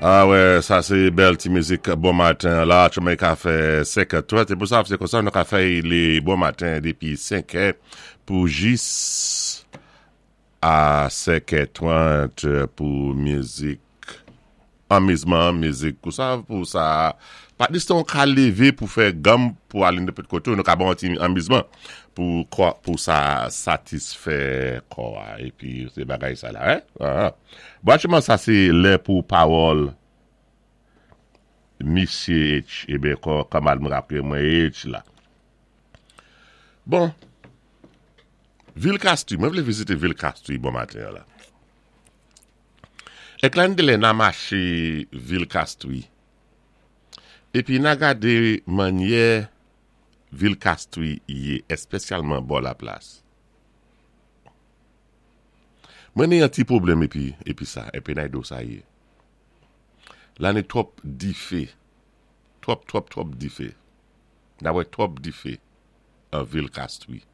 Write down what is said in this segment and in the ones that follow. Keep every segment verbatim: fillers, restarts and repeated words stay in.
Ah wè, sa sé bèl ti mizik bon maten la, chimen ka fè senk è trant, é pou sa, sé konsa nou ka fè lé bon maten dépi senk è pou jis a senk è trant pou mizik, anmizman, mizik, pou sa, pou sa, pa diston ka lévé pou fè ganm pou alé nenpòt koté, nou ka bon ti anmizman pou kwa, pou sa satisfè kò a, épi sé bagay sa la, hein? Ah, ah. Bon, aktyèlman sa sé lè pou pawòl Misyé H, ében kò kanmad mwen rapwé mwen H la. Bon, vil Castries, mwen vlé vizité vil Castries bon maten la. Èk la lé na maché vil Castries, épi na gadé mannyè vil Castries yé, èspesyalman bò la plas. Mwen ni yon ti pwoblèm épi, épi sa, épi nan do sa yé. La ni twòp difé, twòp, twòp, twòp difé. Na wè twòp difé an vil Castries.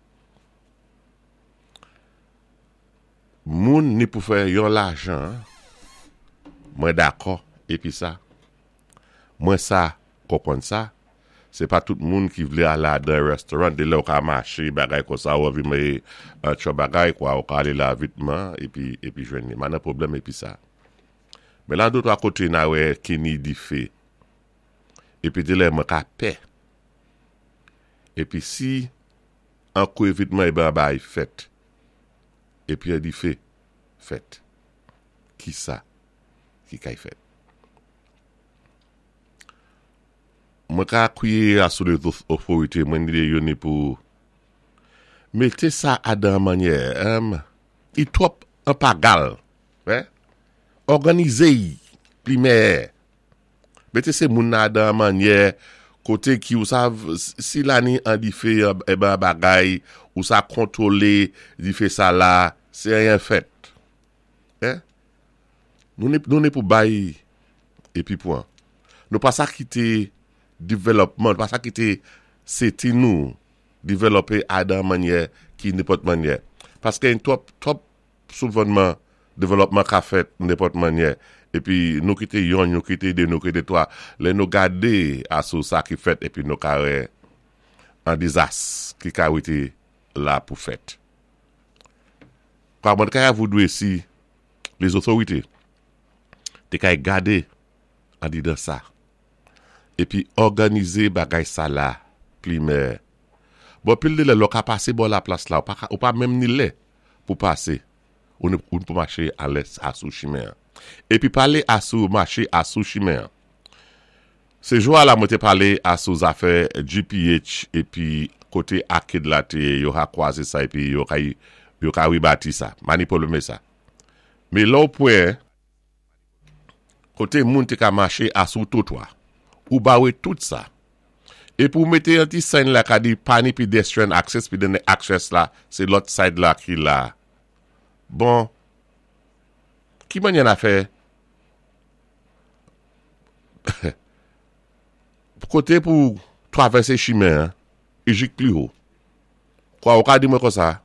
Moun ni pou fè yon lajan, mwen dakò, épi sa. Mwen sa, konpwann sa, sé pa tout moun ki vlé al ladan restaurant, dé lè ou ka maché, bagay konsa, ou anvi mé an tchò bagay, kwa, ou ka alé la vitman, épi, épi jwenn ni. Ma nan pwoblèm épi sa. Men la dé twa koté na wè ki ni difé. Épi dé lè mwen ka pè. Épi si an kou évitman ében bay fèt. Épi an difé fèt. Ki sa ki kay fèt? Mwen ka kwiyé asou lé otorité mwen ni yo ni pou mété sa adan mannyè um, i twòp an pagal. Hein? Òganizé pli mèyè. Mété sé moun nan adan mannyè koté ki ou sav si la ni an difé ében bagay ou sa kontwolé difé sa la, sé anyen fèt. Hein? Nou ni, nou ni pou bay épi pwan. Nou pa sa kité devlòpman, pa sa kité city nou dévelopé adan mannyè ki nenpòt mannyè. Paské yon twòp, twòp souvènman devlòpman ka fèt nenpòt mannyè. Épi nou kité yon, nou kité dé, nou kité twa. Lè nou gadé asou sa ki fèt épi nou ka wè an dizas ki ka wété la pou fèt. Kwa mwen kay voudwé si les autorités té kay gadé andidan sa. Épi òganizé bagay sa la pli mèyè. Bon, pil dé lè lò ka pasé bò la plas la, ou pa, ou pa menm ni lè pou pasé. Ou ni ou pou maché alè asou chimen. Épi palé asou maché asou chimen. Sé jou a la mwen té palé asou zafè G P H épi koté arcade la té yo ka kwazé sa épi yo ka yo ka rebati sa. Ma ni pwoblèm sa. Mé lò pwen koté moun té ka maché asou twotwa. Ou bawé tout sa. É pou mété yon ti sign la ka di pa ni pedestrian access, pi den access la, sé lòt side la ki la. Bon, ki mannyè na fè? Koté pou travèsé chimen, é jik pli wo. Kwa ou ka di mwen konsa?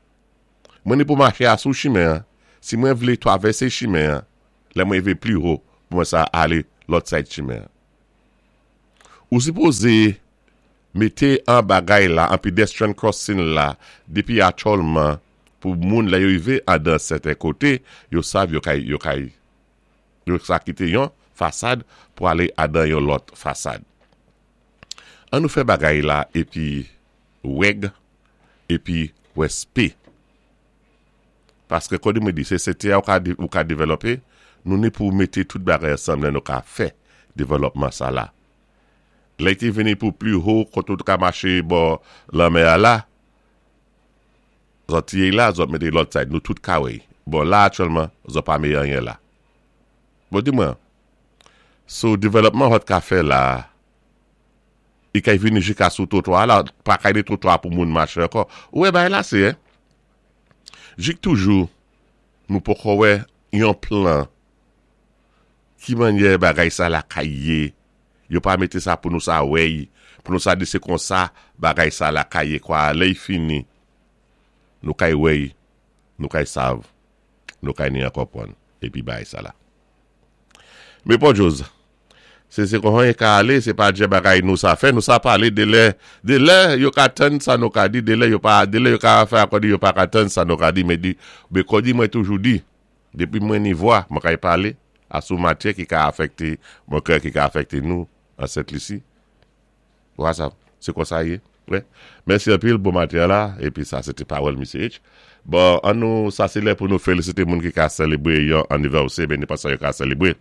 Mwen ni pou maché asou chimen, si mwen vlé travèsé chimen, lè mwen rivé pli wo, pou mwen sa alé lòt side chimen. Ou sipozé mété an bagay la, an pedestrian crossing la, dépi aktyèlman, pou moun la yo rivé adan sèten koté, yo sav yo kay, yo kay, yo sa kité yon fasad pou alé adan yon lòt fasad. An nou fè bagay la, épi wèg, épi wèspé. Paské kòd mwen di, sé city a ou ka, ou ka dévelopé, nou ni pou mété tout bagay ansanm lè nou ka fè devlòpman sa la. Lè té vini pou pli wo, koté ou ka maché bò lanmè a la, zòt yé la, zòt mété lòt side, nou tout ka wè. Bon, la aktyèlman, zòt pa mé anyen la. Bon, di mwen, sou devlòpman zòt ka fè la, i kay vini jika sou twotwa la, pa kay de twotwa pou moun maché ankò. Ou wè bay la sé, eh? Jik toujou, nou poko wè yon plan ki mannyè bagay sa la kay yé. Yo pa mété sa pou nou sa wèy, pou nou sa di sé konsa bagay sa la kay yé kwa lè y fini. Nou kay wèy, nou kay sav, nou kay ni an konpwann, épi bay sa la. Mé Port Jose, Sé sé kon ka alé, sé pa djé bagay nou sa fè, nou sa palé de lè, de lè yo ka tann sa nou ka di, de lè yo pa, de lè yo ka fè akòdi yo pa ka tann sa nou ka di, mé di, bé kòdi mwen toujou di, dépi mwen ni vwa, mwen kay palé, asou matyè ki ka afèkté, mwen kwè ki ka afèkté nou, an Sent Lisi. Wè sa, sé kon sa yé, wè. Mèsi anpil, bon maten la, épi sa sé té pawòl Misye H. Bon, an nou, sa sé lè pou nou félisité moun ki ka sélébwé yon anivèsè, ben ni pa sa yo ka sélébwé.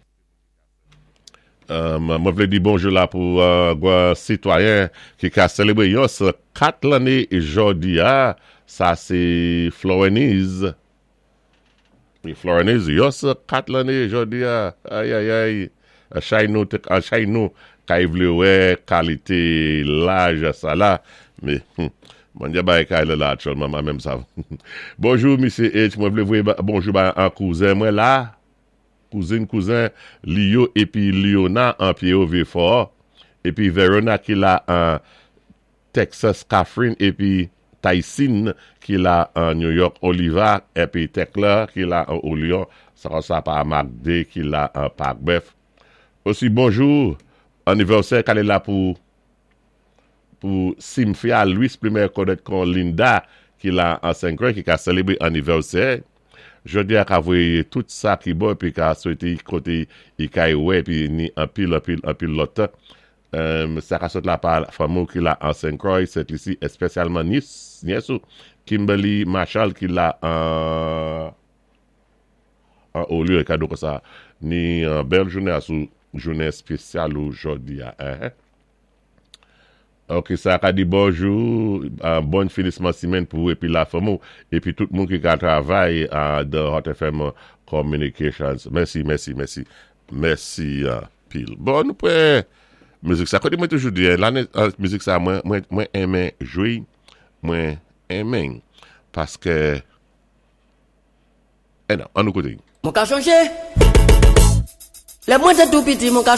Mwen vlé di bonjou la pou gwa sitwayen ki ka sélébwé yon san kat lanné jòdi a, sa sé Florenise. Florenise, yon san kat lanné jòdi a, ayayay, chay nou, chay nou, kay vlé wè kalité laj sa la, mé, mwen di bay kay lè la aktyèlman, mwen menm sa. Bonjou, Misye H, mwen vlé voyé bonjou bay an kouzen mwen la, kouzin kouzen Lio épi Liona an Pierre Vieux-Fort, épi Verona ki la an Texas, Catherine, épi Tyson ki la an New York, Oliva, épi Tekla ki la an Olion, sa sa pa Magde ki la an Parc-Bœuf. Osi bonjou, anivèsè k alé la pou pou Cynthia Louis, pli konnèt kon Linda ki la an Saint-Croix ki ka sélébwé anivèsè. Jòdi a ka voyé tout sa ki bon épi ka swété koté i kay wè épi ni anpil anpil anpil lòt. Um, sa ka sot la pa fanmi ki la an Saint-Croix, Sent Lisi, espesyalman nyès, nyès ou Kimberly Marshall ki la an an Olio kado kon sa ni an bèl jounen asou jounen espesyal ou jòdi a. Hein? Ok, sa ka di bonjou, uh, bon finisman simèn pou épi la fanmi épi tout moun ki ka travay uh, de Hot F M Communications. Mèsi, mèsi, mèsi. Mèsi uh, pil. Bon, nou pwé mizik sa. Koté mwen toujou di, lanné uh, mizik sa mwen mwen mwen enmen jwé, mwen enmen paské eh non, an nou kouté. Mwen ka chanjé. Lè mwen té tou piti, mwen ka